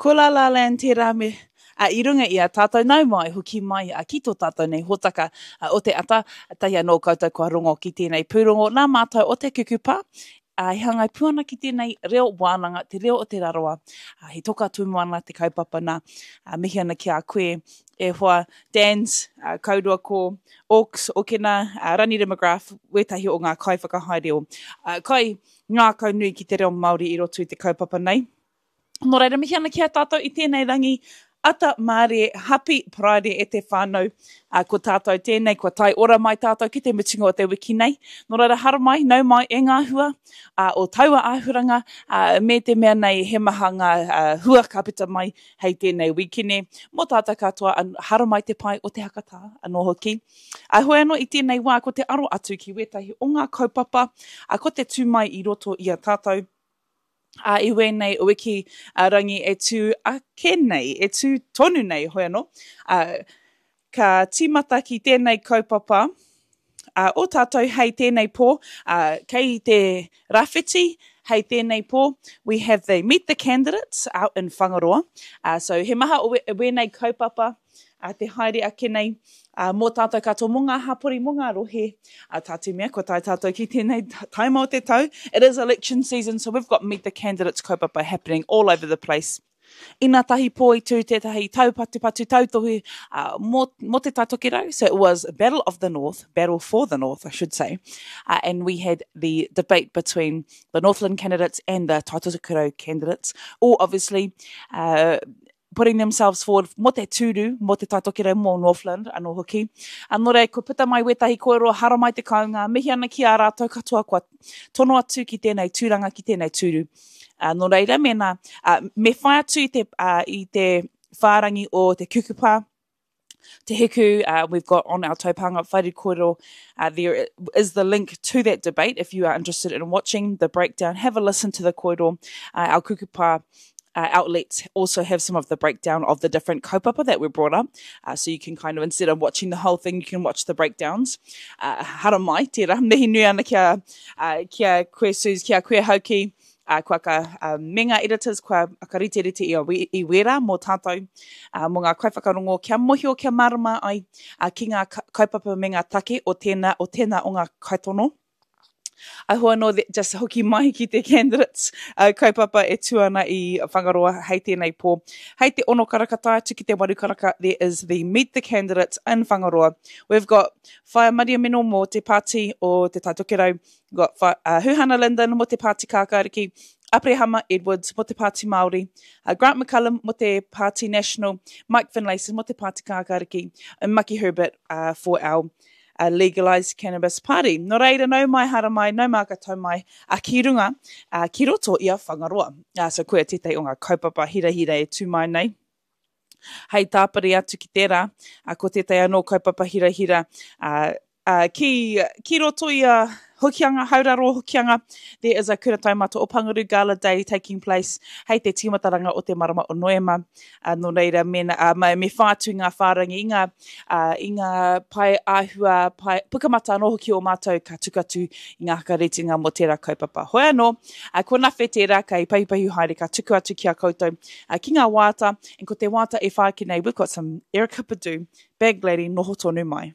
Ko La La Land tērā me a, i runga i a tātou nau mai, hoki mai a, ki tō tātou nei hōtaka a, o te ata. Tahi anō koutou kua rongo ki tēnei pūrongo nā mātou o Te Kukupa, ā, e hāngai pū ana ki tēnei reo wānanga, te reo o Te Rarawa. Ā, he toka tūmoana te kaupapa nā. Ā, mihi ana ki a koe e hoa Dans, ā, kaurua ko Oaks, Okena, ā, Ranira McGrath, wētahi o ngā kaiwhakahaere o, ā, kai ngākau nui ki te reo Māori i roto i te kaupapa nei. Nō reira, mihi ana ki a tātou i tēnei rangi, ata mārie, hapi Paraire e te whānau. Ā, ko tātou tēnei, kua tae ora mai tātou ki te mutunga o te wiki nei. Nō reira, haramai, nau mai e ngā hua ā, o taua āhuranga, ā, me te mea nei he maha ngā ā, hua ka puta mai hei tēnei wīkene. Mō tātou katoa, haramai te pae o te hakatā anō hoki. Ā, heoi anō i tēnei wā ko te aro atu ki wētahi o ngā kaupapa, ā, ko te tū mai i roto i a tātou, Ā, i wēnei wiki a Rangi e tū ake nei, e tū tonu nei, hoi anō, ā, ka tīmata ki tēnei kaupapa ā, o tātou hei tēnei pō, ā, kei te Rawhiti hei tēnei pō, we have the Meet the Candidates out in Whangaroa. Ā, so he maha o wēnei kaupapa, ā, te haere ake nei, ā, mō tātou katoa, mō ngā hapori, mō ngā rohe, ā, tā te mea, kua tae tātou ki tēnei taima o te tau, it is election season, so we've got Meet the Candidates kaupapa happening all over the place. Ina tahi pō i tū tētahi taupatupatu tautohu ā, mō, mō Te Tai Tokerau, so it was Battle of the North, Battle for the North, I should say, uh, and we had the debate between the Northland candidates and the Tai Tokerau candidates, all obviously uh, putting themselves forward mō te tūru, mō Te Tai Tokerau, mō Northland anō hoki. A nō reira, kua puta mai wētahi kōrero, haramai te kounga, mihi ana ki a rātou katoa kua tono atu ki tēnei tūranga, ki tēnei tūru. A, nō reira, mēnā, a, me whai atu i te, a, i te whārangi o te kukupa, Te Hiku, uh, we've got on our taupānga whare kōrero, uh, there is the link to that debate if you are interested in watching the breakdown. Have a listen to the kōrero. Uh, our kukupa uh, outlets also have some of the breakdown of the different kaupapa that were brought up. Uh, so you can kind of, instead of watching the whole thing, you can watch the breakdowns. Uh, haramai, tērā, mihi nui ana kia, uh, kia koe Suze, kia koe Hauki, ā, kua ka, ā, me ngā editors kua whakariterite i, i wērā mō tātou, ā, mō ngā kaiwhakarongo kia mohio, kia mārama ai, ā, ki ngā kaupapa me ngā take o tēnā, o tēnā o ngā kaitono. Ahu anō, just hoki mai ki te candidates uh, kaupapa e tū ana i Whangaroa hei tēnei pō. Hei te ono karaka tae atu ki te waru karaka, there is the Meet the Candidates in Whangaroa. We've got Whaea Mariameno mō te pāti o Te Tai Tokerau, Got wha, uh, Huhana Lyndon mo te Pāti Kākāriki, Aperehama Edwards mo te Pāti Māori, uh, Grant McCallum mo te Pāti National, Mike Finlayson mo te Pāti Kākāriki, and Maki Herbert uh, for our uh, Legalised Cannabis Party. Nō reira, nau mai, hara mai, nau māka tau mai, uh, ki runga, uh, ki roto i a Whangaroa. Uh, so koia tētahi o ngā kaupapa hirahira e tū mai nei. Hei tāpiri atu ki tērā, ko tētahi anō kaupapa hirahira ki, ki roto i a Hokianga, Hauraro Hokianga, there is a Kura Taumata o Panguru Gala Day taking place hei te tīmataranga o te marama o Noema. Uh, nō reira, mēnā, uh, me, me whai atu i ngā whārangi, i ngā, uh, i ngā pae āhua, pae, pukamata anō hoki o mātou ka tuku atu i ngā whakaritinga mō tērā kaupapa. Hoi anō, uh, ko Nawhe tērā kei pahupahu haere ka tuku atu ki a koutou ki ngā wāta, and ko te wāta e whāki nei, we've got some Erykah Badu, Bag Lady, noho tonu mai.